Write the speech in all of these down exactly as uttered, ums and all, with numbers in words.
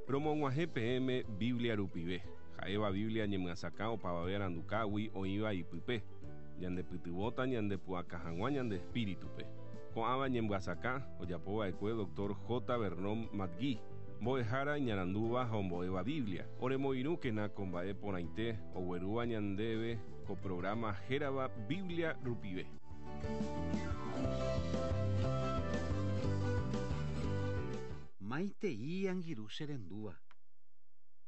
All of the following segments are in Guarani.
Romog̃uahẽ peẽme Biblia rupive. Ha'éva Biblia ñemyasakã opavave arandukágui oĩva ipype. Ñandepytyvõta ñandepu'aka hag̃ua ñande espíritupe. Ko'ãva ñemyasakã ojapova'ekue doctor J. Vernon McGee, mbo'ehára iñarandúva ha ombo'éva Biblia. Oremoirũkena ko mba'e porãite oguerúva ñandéve ko programa hérava Biblia rupive. Maitei angirũ che rendúva.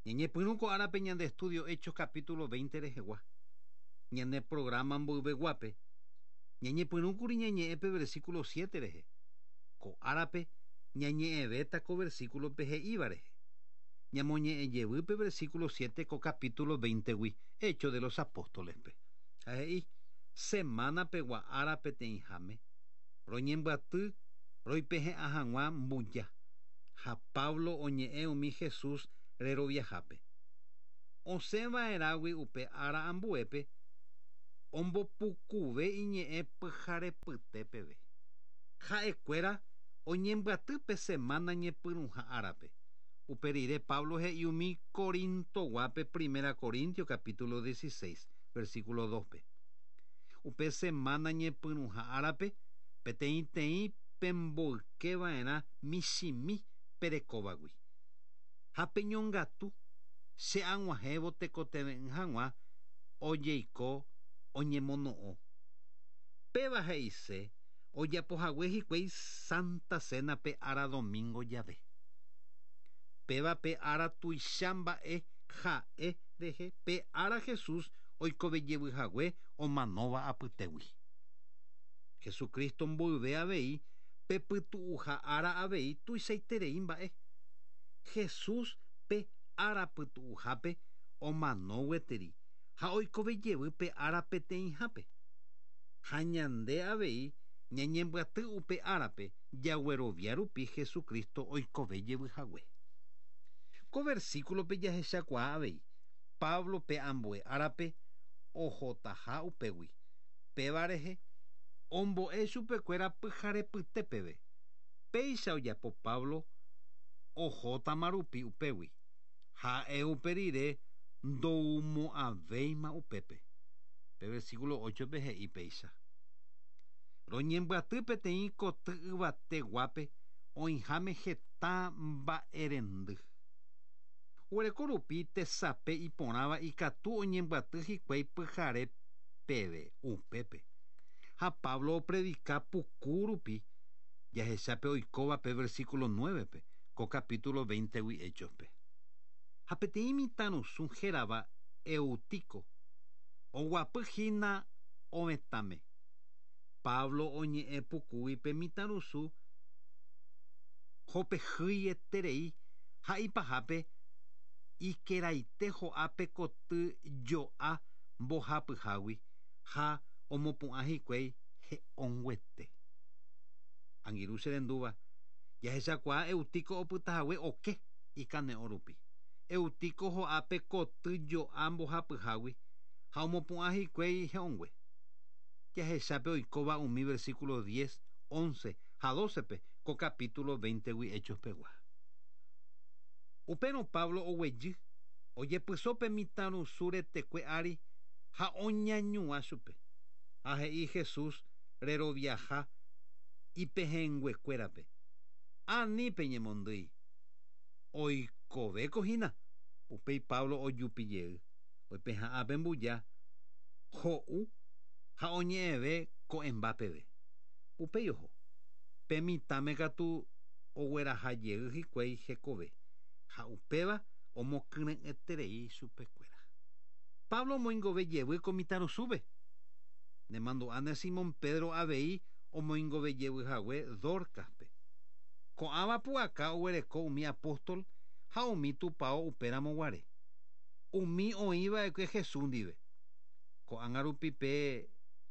Ñañepyrũ ko árape ñande estudio Hechos capítulo veinte rehegua. Ñane programa mboyveguápe. Ñañepyrũkuri ñañe'ẽpe versículo siete rehe. Ko árape ñañe'ẽvéta ko versículo pe he'íva rehe. Ñamoñe'ẽjevýpe versículo siete ko capítulo veinte-gui Hechos de los Apóstoles-pe. Ha he'i, semana pegua ára peteĩháme, roñembyaty roipehe'ã hag̃ua mbuja. Ha Pablo oñe'ẽ umi Jesús reroviahápe. Osẽva'erãgui upe ára ambuépe ombopukuve iñe'ẽ pyharepyte peve. Ha'ekuéra oñembyaty pe semana ñepyrũha árape. Upe rire Pablo he'i umi Corintoguápe Primera Corintio capítulo dieciséis, versículo dos-pe. Upe semana ñepyrũha árape peteĩteĩ pemboykeva'erã michĩmi perekóvagui. Ha peñongatu che ag̃uahẽvo tekotevẽ hag̃ua ojeiko oñemono'õ. Péva he'ise ojapohague hikuái Santa Cena pe ára domingo jave. Péva pe ára tuicha mba'e ha'e rehe pe ára Jesús oikovejevyhague omanóva apytégui. Jesucristo mboyve avei pepytu'uha ára avei tuichaiterei mba'e. Jesús pe ára pytu'uhápe omano gueteri ha oikovejevy pe ára peteĩhápe. Ha ñande avei ñañembyaty upe árape jaguerovia rupi Jesucristo oikovejevyhague. Ko versículo-pe jahechakuaa avei Pablo pe ambue árape ohotaha upégui. Péva rehe ombo'e chupekuéra pyharepyte peve. Péicha ojapo Pablo ohótama rupi upégui. Ha'e upe rire ndoumo'ãvéima upépe. Pe versículo ocho-pe he'i péicha. Roñembyaty peteĩ koty yvateguápe oĩháme heta mba'erendy. Oguereko rupi tesape iporãva ikatu oñembyaty hikuái pyhare peve upépe. Ha Pablo opredika puku rupi jahechápe oikóva pe versículo nueve-pe ko capítulo veinte-gui Hechos-pe. Ha peteĩ mitãrusu hérava Eutico oguapyhína ovetãme. Pablo oñe'ẽ pukúgui pe mitãrusu hopehýieterei ha ipahápe ikeraite ho'ápe koty jo'a mbohapyhágui ha omopu'ã hikuái he'õnguete. Angirũ che rendúva jahechakuaa Eutico opytahague oke ikane'õ rupi. Eutico ho'ápe koty jo'a mbohapyhágui ha omopu'ã hikuái he'õngue. Jahechápe oikóva umi versículo diez, once ha doce-pe ko capítulo veinte-gui Hechos-pegua. Upérõ Pablo oguejy ojepyso pe mitãrusu retekue ári ha oñañua chupe. Ha he'i Jesús reroviaha ipehẽnguekuérape. Ani peñemondýi. Oikovéko hína. Upéi Pablo ojupijey. Oipeha'ã mbuja ho'u ha oñe'ẽve ko'ẽmba peve. Upéi oho. Pe mitãme katu oguerahajey hikuái hekove. Ha upéva omokyre'ỹeterei chupekuéra. Pablo omoingovejevy ko mitãrusúpe. Nemandu'áne Simón Pedro avei omoingovejevyhague Dorcaspe. Ko'ãva pu'aka oguereko umi apóstol ha umi tupão upéramo guare. Umi oĩva'ekue Jesús ndive. Ko'ág̃a rupi pe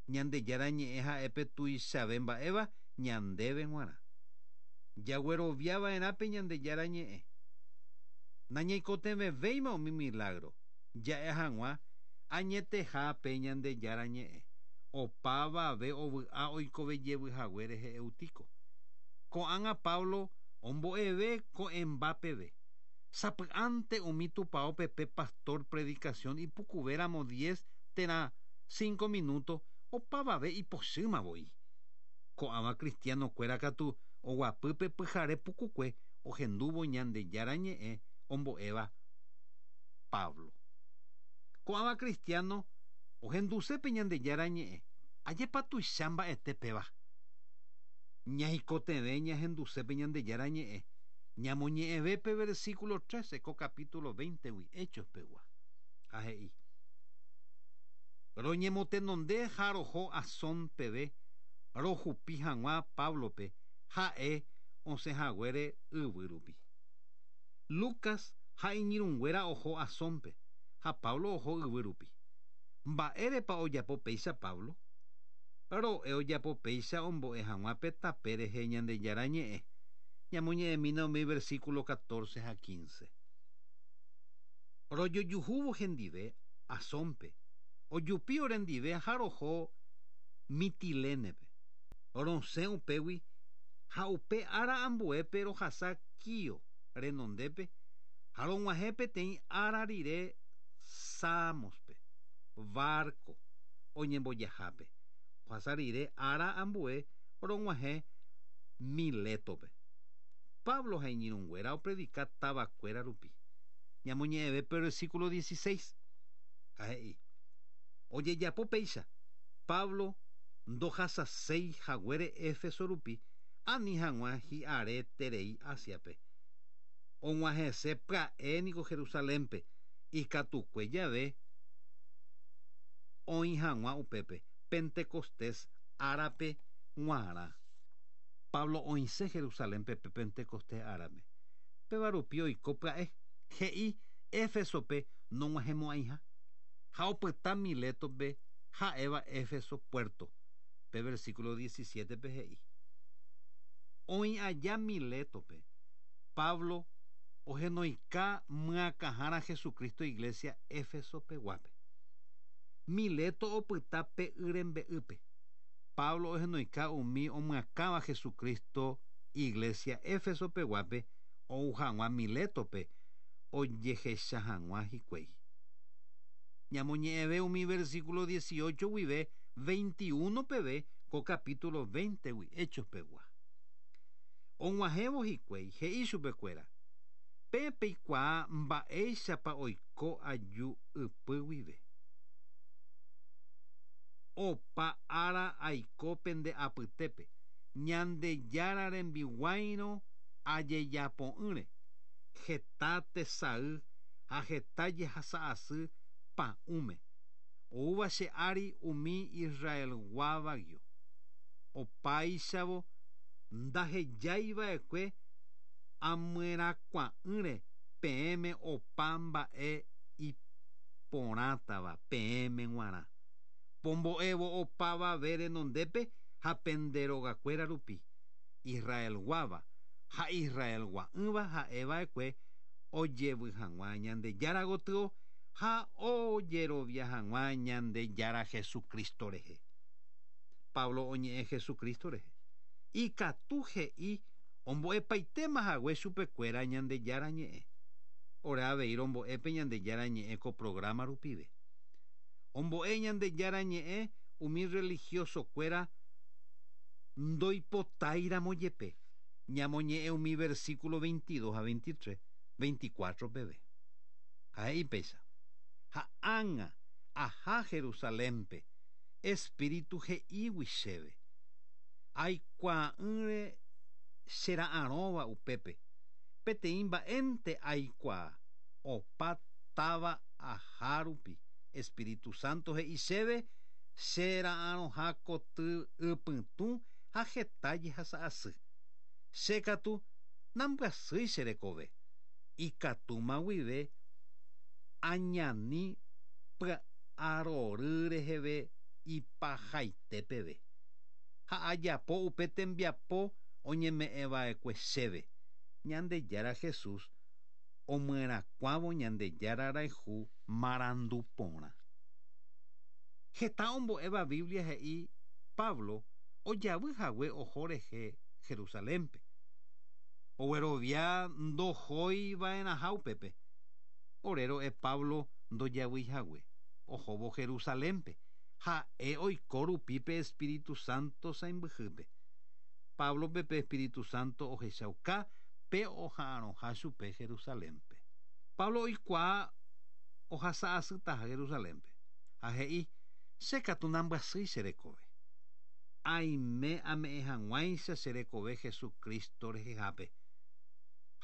Ñandejára ñe'ẽ ha'épe tuichave mba'éva ñandéve g̃uarã. Jagueroviava'erã pe Ñandejára ñe'ẽ. Nañaikotevẽvéima umi milagro. Ja'e hag̃ua añeteha pe Ñandejára ñe'ẽ. Opavave ovy'a oikovejevyhague rehe Eutico. Ko'ág̃a Pablo ombo'eve ko'ẽmba peve. Sapy'ánte umi tupãópe pe pastor predicación ipukuvéramo diez térã cinco minutos opavave ipochýmavoi. Ko'ãva cristiano-kuéra katu oguapýpe pyhare pukukue ohendúvo Ñandejára ñe'ẽ ombo'éva Pablo. Ko'ãva cristiano ohendusépe Ñandejára ñe'ẽ ajépa tuicha mba'ete péva. Ñaikotevẽ ñahendusépe Ñandejára ñe'ẽ ñamoñe'ẽvépe versículo trece ko capítulo veinte-gui Hechos pegua. Ha he'i: Roñemotenonde ha roho Asón peve rojupi hag̃ua Pablope ha'e osẽhaguére yvy rupi. Lucas ha iñirũnguéra oho Asónpe ha Pablo oho yvy rupi. Mba'érepa ojapo péicha Pablo? Ro'e ojapo péicha ombo'e hag̃ua pe tape rehe Ñandejára ñe'ẽ. Ñamoñe'ẽmína umi versículo catorce ha quince. Rojojuhúvo hendive Asónpe, ojupi orendive ha roho Mitilénepe. Rosẽ upégui ha upe ára ambuépe rohasa Quío renondépe ha rog̃uahẽ peteĩ ára rire Samospe, barco oñembojahápe. Ohasa rire ára ambue rog̃uahẽ Milétope. Pablo ha iñirũnguéra opredika tavakuéra rupi. Ñamoñe'ẽvépe versículo dieciséis. Ha he'i: Ojejapo péicha Pablo ndohasaséi haguére Éfeso rupi ani hag̃ua hi'areterei Asiape. Og̃uahẽse pya'e niko Jerusalénpe ikatukue jave oĩ hag̃ua upépe Pentecostés árape g̃uarã. Pablo oĩse Jerusalénpe pe Pentecostés árape. Péva rupi oiko pya'e he'i Éfesope nog̃uahẽmo'ãiha ha opyta Milétope ha'éva Éfeso puerto. Pe versículo diecisiete-pe he'i: Oĩ aja Milétope Pablo ohenoika myakãhára Jesucristo iglesia Éfeso peguápe. Mileto opyta pe y rembe'ýpe. Pablo ohenoika umi omyakãva Jesucristo iglesia Éfeso peguápe ou hag̃ua Milétope ojehecha hag̃ua hikuái. Ñamoñe'ẽve umi versículo dieciocho guive veintiuno peve ko capítulo veinte-gui Hechos pegua. Og̃uahẽvo hikuái he'i chupekuéra: Pe peikuaa mba'éichapa oiko aju ypy guive. Opa ára aiko pende apytépe Ñandejára rembiguáirõ ajejapo'ỹre heta tesay ha heta jehasa'asy pa'ũme oúva che ári umi Israelguávagio. Opáichavo ndahejaiva'ekue amyerakuã'ỹre peẽme opa mba'e iporãtava peẽme g̃uarã. Pombo'évo opavave renondépe ha pende rogakuéra rupi Israelguáva ha Israelgua'ỹva ha'eva'ekue ojevy hag̃ua Ñandejára gotyo ha ojerovia hag̃ua Ñandejára Jesucristo rehe. Pablo oñe'ẽ Jesucristo rehe. Ikatu he'i ombo'epaitéma hague chupekuéra Ñandejára ñe'ẽ. Ore avei rombo'épe Ñandejára ñe'ẽ ko programa rupive. Ombo'e Ñandejára ñe'ẽ umi religioso-kuéra ndoipotáiramo jepe. Ñamoñe'ẽ umi versículo veintidós ha veintitrés, veinticuatro peve. Ha he'i péicha: Ha ág̃a aha Jerusalénpe Espíritu he'ígui chéve. Aikuaa'ỹre chera'arõva upépe. Peteĩ mba'énte aikuaa opa táva aha rupi. Espíritu Santo he'i chéve chera'arõha koty ypytũ ha heta jehasa'asy. Che katu nambyasýi che rekove. Ikatúma guive añani py'arory reheve ipahaite peve. Ha ajapo upe tembiapo oñeme'ẽva'ekue chéve. Ñandejára Jesús omyerakuãvo Ñandejára rayhu marandu porã. Heta ombo'éva Biblia he'i Pablo ojavy hague oho rehe Jerusalénpe. Oguerovia ndohoiva'erãha upépe. Ore ro'e Pablo ndojavyhague ohóvo Jerusalénpe ha'e oiko rupi pe Espíritu Santo sãmbyhýpe. Pablope pe Espíritu Santo ohechauka pe oha'arõha chupe Jerusalénpe. Pablo oikuaa ohasa'asytaha Jerusalénpe ha he'i che katu nambyasýi che rekove. Aime ame'ẽ hag̃uáicha che rekove Jesucristo rehehápe.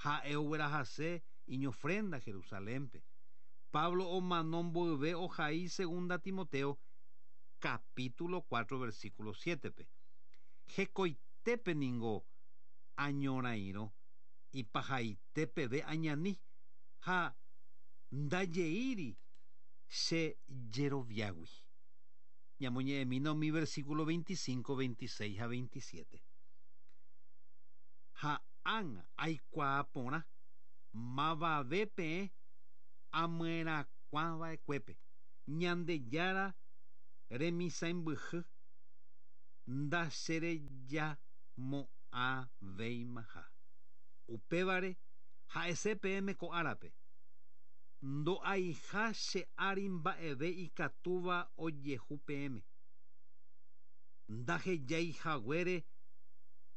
Ha'e oguerahase iñofrenda Jerusalénpe. Pablo omano mboyve ohai segunda Timoteo capítulo cuatro versículo siete-pe. Hekoitépe ningo añorairõ ipahaitépeve añani ha ndajeíri che jeroviágui. Ñamoñe'ẽmína umi versículo veinticinco, veintiséis ha veintisiete. Ha ág̃a aikuaa porã mavave peẽ amyerakuãva'ekuépe Ñandejára remisãimbyhy ndacherejamo'ãvéimaha. Upévare ha'ese peẽme ko árape ndo'aiha che ári mba'eve ikatúva ojehu peẽme. Ndahejaihaguére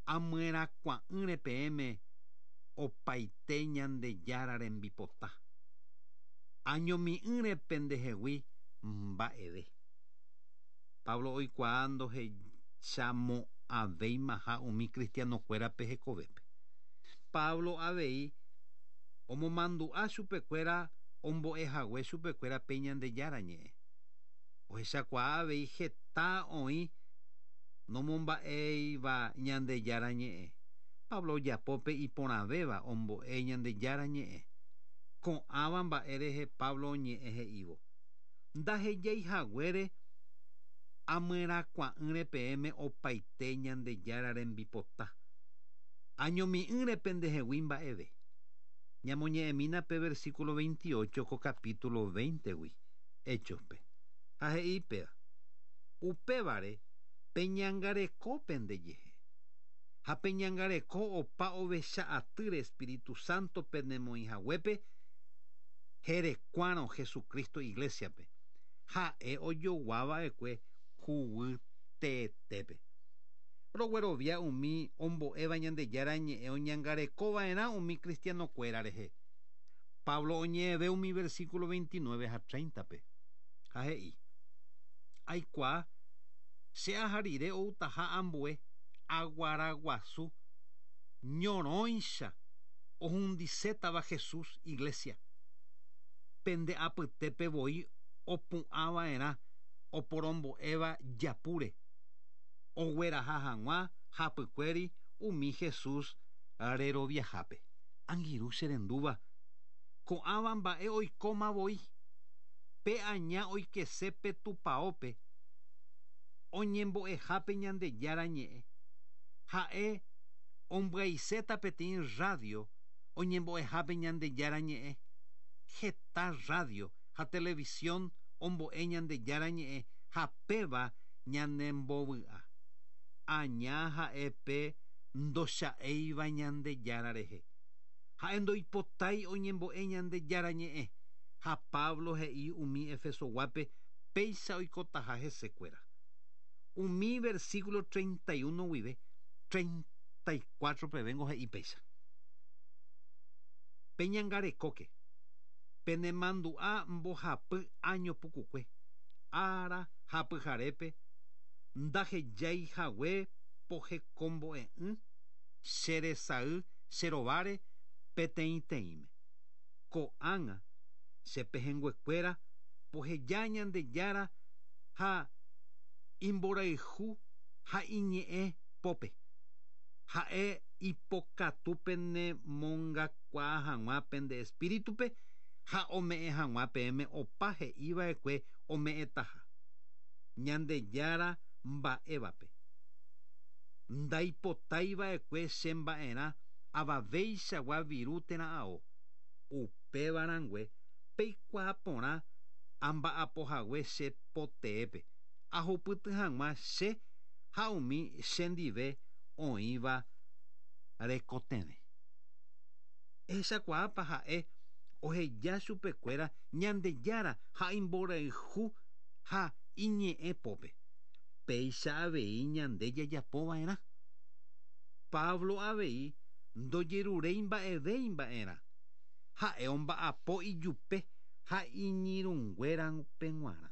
amyerakuã'ỹre peẽme opaite Ñandejára rembipota. Añomi'ỹre pendehegui mba'eve. Pablo oikuaa ndohechamo'ãvéimaha umi cristianokuérape hekovépe. Pablo avei omomandu'a chupekuéra ombo'ehague chupekuéra pe Ñandejára ñe'ẽ. Ohechakuaa avei heta oĩ nomomba'éiva Ñandejára ñe'ẽ. Pablo ojapópe iporãvéva ombo'e Ñandejára ñe'ẽ. Ko'ãva mba'e rehe Pablo oñe'ẽ he'ívo. Ndahejaihaguére amyerakuã'ỹre peẽme opaite Ñandejára rembipota. Añomi'ỹre pendehegui mba'eve. Ñamoñe'ẽmína pe versículo veintiocho ko capítulo veinte-gui Hechospe. Ha he'i péva. Upévare peñangareko pendejehe. Ha peñangareko opa ovecha atýre Espíritu Santo penemoĩhaguépe herekuárõ Jesucristo iglesiape. Ha'e ojoguava'ekue huguy teetépe. Roguerovia umi ombo'éva Ñandejára ñe'ẽ oñangarekova'erã umi cristianokuéra rehe. Pablo oñe'ẽve umi versículo veintinueve ha treinta-pe. Ha he'i. Aikuaa che aha rire outaha ambue aguaraguasu ñorõicha ohundisétava Jesús iglesia. Pende apytépe voi opu'ãva'erã oporombo'éva japúre. Ogueraha hag̃ua hapykuéri umi Jesús reroviahápe. Angirũ che rendúva ko'ãva mba'e oikóma voi. Pe aña oikese pe tupaópe oñembo'ehápe Ñandejára ñe'ẽ. Ha'e ombyaiséta peteĩ radio oñembo'ehápe Ñandejára ñe'ẽ. Heta radio ha televisión ombo'e Ñandejára ñe'ẽ ha péva ñanembovy'a. Aña ha'e pe ndocha'éiva Ñandejára rehe. Ha'e ndoipotái oñembo'e Ñandejára ñe'ẽ. Ha Pablo he'i umi Efesoguápe péicha oikotaha hesekuéra. Umi versículo treinta y uno guive treinta y cuatro pe vengo he'i péicha. Peñangarekóke. Penemandu'a mbohapy año pukukue. Ára hapyharépe ndahejaihague pohekombo'e'ỹ cheresay cherováre peteĩteĩme. Ko'ág̃a che pehẽnguekuéra poheja Ñandejára ha imborayhu ha iñe'ẽ pópe. Ha'e ipokatu penemongakuaa hag̃ua pende espíritupe ha ome'ẽ hag̃ua peẽme opa he'iva'ekue ome'ẽtaha. Ñandejára mba'évape. Ndaipotaiva'ekue che mba'erã avavéichagua viru térã ao. Upévarãngue peikuaa porã amba'apohague che poteépe. Ahupyty hag̃ua che ha umi chendive oĩva rekotevẽ. Ehechakuaápa ha'e oheja chupekuéra Ñandejára ha imborayhu ha iñe'ẽpópe. Péicha avei ñande jajapova'erã. Pablo avei ndojeruréi mba'evéi mba'erã. Ha'e omba'apo ijupe ha iñirũnguérape g̃uarã.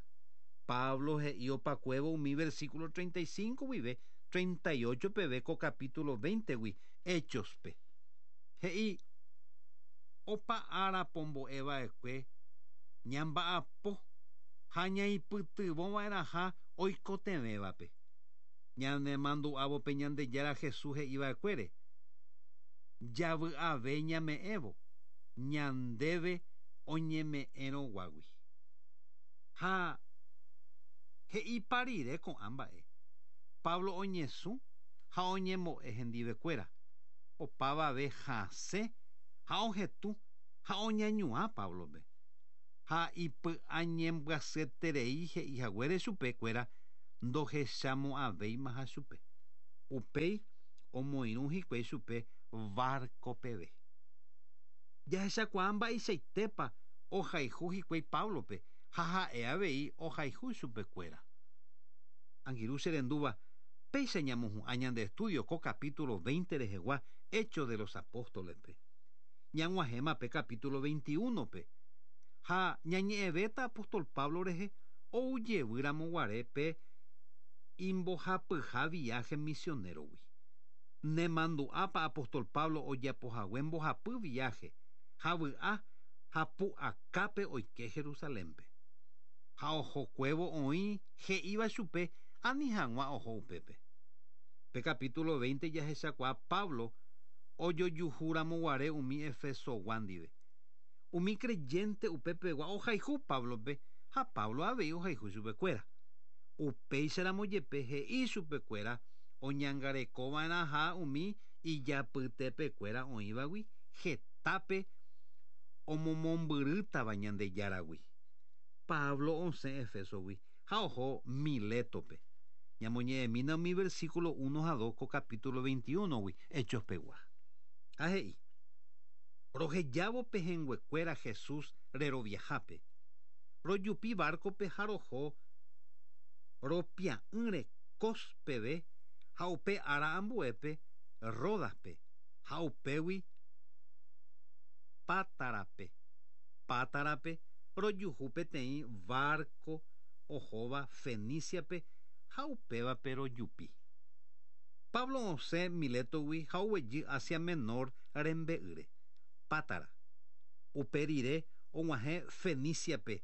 Pablo he'i opakuévo umi versículo treinta y cinco guive treinta y ocho peve ko capítulo veinte-gui Hechos-pe. He'i opa ára pombo'eva'ekue ñamba'apo ha ñaipytyvõva'erãha oikotevẽvape. Ñanemandu'ávope Ñandejára Jesús he'iva'ekuére. Javy'ave ñame'ẽvo ñandéve oñeme'ẽrõguágui. Ha he'ipa rire ko'ã mba'e. Pablo oñesũ ha oñembo'e hendivekuéra. Opavave hasẽ ha ohetũ ha oñañuã Pablope. Ha ipy'añembyasyeterei he'ihaguére chupekuéra ndohechamo'ãvéimaha chupe. Upéi omoirũ hikuái chupe barco peve. Jahechakuaa mba'eichaitépa ohayhu hikuái Pablope ha ha'e avei ohayhu chupekuéra. Angirũ cherendúva péicha ñamohu'ã ñande estudio ko capítulo veinte rehegua Hechos de los Apóstoles-pe. Ñag̃uahẽma pe capítulo veintiuno-pe. Ha ñañe'ẽvéta apóstol Pablo rehe oujevýramo pe imbohapyha viaje misionero-gui. Nemandu'ápa apóstol Pablo ojapohague mbohapy viaje ha vy'a ha pu'akápe oike Jerusalénpe. Ha ohokuévo oĩ he'íva chupe ani hag̃ua oho upépe. Pe capítulo veinte jahechakuaa Pablo ojojuhúramoguare umi Efesogua ndive. Umi creyente upepegua ohayhu Pablope ha Pablo avei ohayhu chupekuéra. Upéicharamo jepe he'i chupekuéra oñangarekova'erãha umi ijapytepekuéra oĩvagui hetápe omomombyrýtava Ñandejáragui. Pablo osẽ Efesogui ha oho Miletope. Ñamoñe'ẽmína umi versículo uno ha dos ko capítulo veintiuno-gui Hechos-pegua. Ha he'i rohejávo pehẽnguekuéra Jesús reroviahápe. Rojupi barco-pe ha roho ropia'ỹre Cos-peve ha upe ára ambuépe Rodas-pe ha upégui Pátarape. Pátarape rojuhu peteĩ barco ohóva Feniciape ha upévape rojupi. Pablo osẽ Miletogui ha oguejy Asia Menor rembe'ýre. Pátara. Upe rire og̃uahẽ Feniciape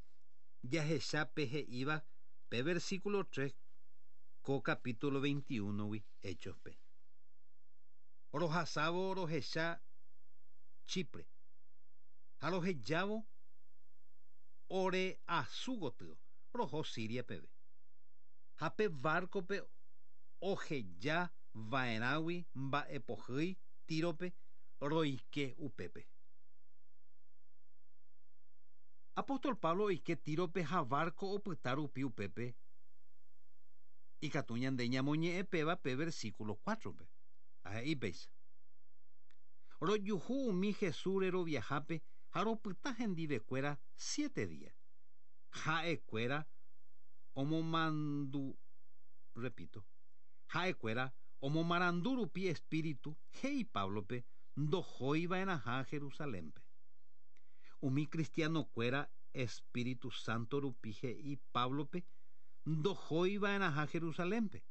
jahechápe he'íva pe versículo tres ko capítulo veintiuno-gui Hechos-pe. Rohasávo rohecha Chipre ha rohejávo ore asu gotyo roho Siria peve. Ha pe barco-pe oheja va'erãgui mba'epohýi Tírope roike upépe. Apóstol Pablo oike Tírope ha barco opyta rupi upépe. Ikatu ñande ñamoñe'ẽpéva pe versículo cuatro-pe. Ha he'i péicha. Rojuhu umi Jesús reroviahápe ha ropyta hendivekuéra siete días. Ha'ekuéra omomandu, repito, ha'ekuéra omomarandu rupi espíritu he'i Pablope ndohóiva'erãha Jerusalénpe. Umi cristianokuéra Espíritu Santo rupi he'i Pablope ndohóiva'erãha Jerusalénpe.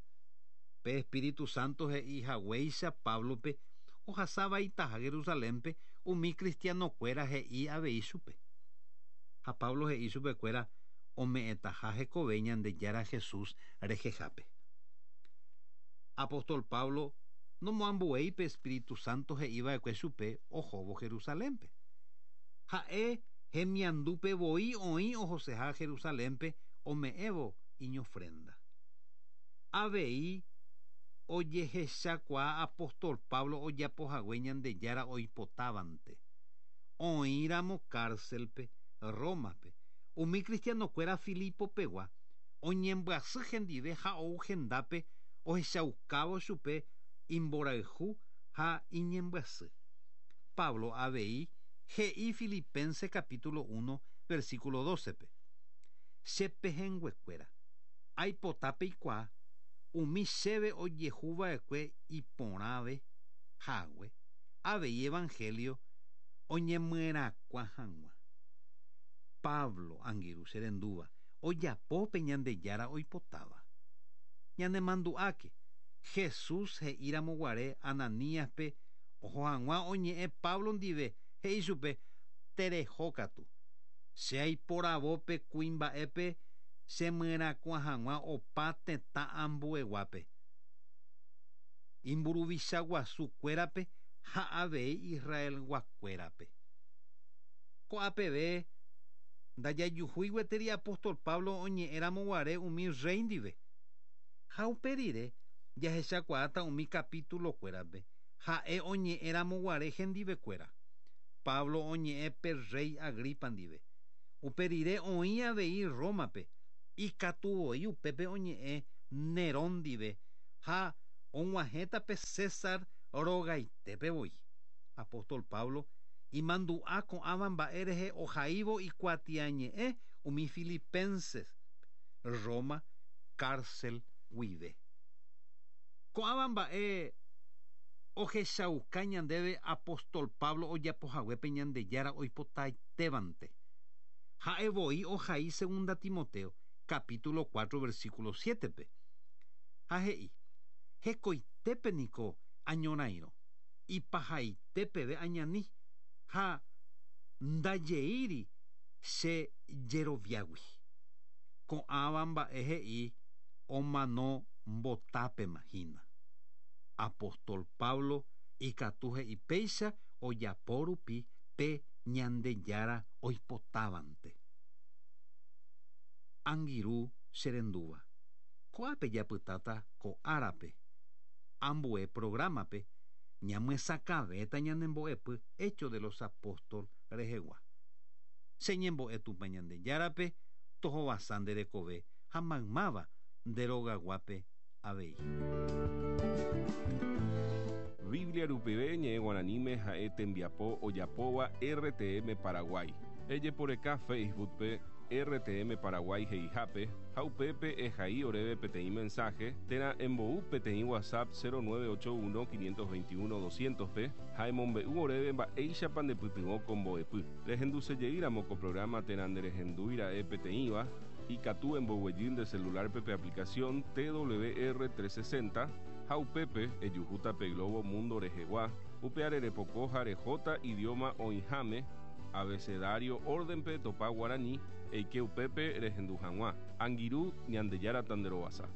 Pe Espíritu Santo he'i haguéicha Pablope ohasavaitaha Jerusalénpe umi cristianokuéra he'i avei chupe. Ha Pablo he'i chupekuéra ome'ẽtaha hekove Ñandejára Jesús rehehápe. Apóstol Pablo nomoambuéi pe Espíritu Santo he'iva'ekue chupe ohóvo Jerusalénpe. Ha'e hemiandúpe voi oĩ ohoseha Jerusalénpe ome'ẽvo iñofrenda. Avei ojehechakuaa apóstol Pablo ojapohague Ñandejára oipotávante. Oĩramo cárcelpe Rómape. Umi cristianokuéra Filipopegua oñembyasy hendive ha ou hendápe ohechaukávo chupe imborayhu ha iñembyasy. Pablo avei He'i Filipenses capítulo uno versículo doce pe. Che pehẽnguekuéra aipota peikuaa umi chéve ojehuva'ekue iporãve hague avei evangelio oñemyerakuã hag̃ua. Pablo angirũ che rendúva ojapo pe Ñandejára oipotáva. Ñanemandu'áke Jesús he'íramoguare Ananíaspe oho hag̃ua oñe'ẽ Pablo ndive he'i chupe terehókatu che aiporavópe kuimba'épe chemyerakuã hag̃ua opa tetã ambueguápe imburuvichaguasukuérape ha avei Israelguakuérape. Ko'ápeve ndajajuhúi gueteri apóstol Pablo oñe'ẽramoguare umi rey ndive. Ha upe rire jahechakuaáta umi capítulokuérape ha'e oñe'ẽramoguare hendivekuéra. Pablo oñe'ẽ pe rey Agripa ndive. Upe rire oĩ avei Rómape ikatuvoi upépe oñe'ẽ Nerón ndive ha og̃uahẽta pe César rogaitépe voi. Apóstol Pablo imandu'a ko'ãva mba'e rehe ohaívo ikuatiañe'ẽ umi Filipenses Roma cárcel guive. Ko'ãva mba'e ohechauka ñandéve apóstol Pablo ojapohaguépe Ñandejára oipotaitévante. Ha'e voi ohai segunda Timoteo capítulo cuatro versículo siete pe. Ha he'i hekoitépe niko añorairõ ipahaitépeve añani ha ndajeíri che jeroviágui. Ko'ãva mba'e he'i omano mbotápema hína. Apóstol Pablo ikatu he'i péicha ojapo rupi pe Ñandejára oipotávante. Angirũ che rendúva. Ko'ápe japytáta ko árape. Ambue programape ñamyesakãvéta ñanembo'epy Hechos de los Apóstoles rehegua. Che ñembo'e Tupã Ñandejárape tohovasa nde rekove ha maymáva nde rogaguápe avei. Biblia rupive ñe'ẽ guaraníme ha'e tembiapo ojapóva R T M Paraguay. Ejeporeka Facebook pe R T M Paraguay he'ihápe ha upépe ehai oréve peteĩ mensaje térã embou peteĩ WhatsApp cero nueve ocho uno quinientos veintiuno doscientos pe ha emombe'u oréve mba'éichapa ndepytyvõ ko mbo'epy. Rehendusejeýramo ko programa térã nderehendúira'e peteĩva ikatu emboguejy nde celular pe aplicación T W R trescientos sesenta ha upépe ejuhúta pe Globo Mundo rehegua upe arerepoko ha rehóta idioma oĩháme abecedario orden-pe topa guarani eike upépe rehendu hag̃ua. Angirũ Ñandejára tanderovasa.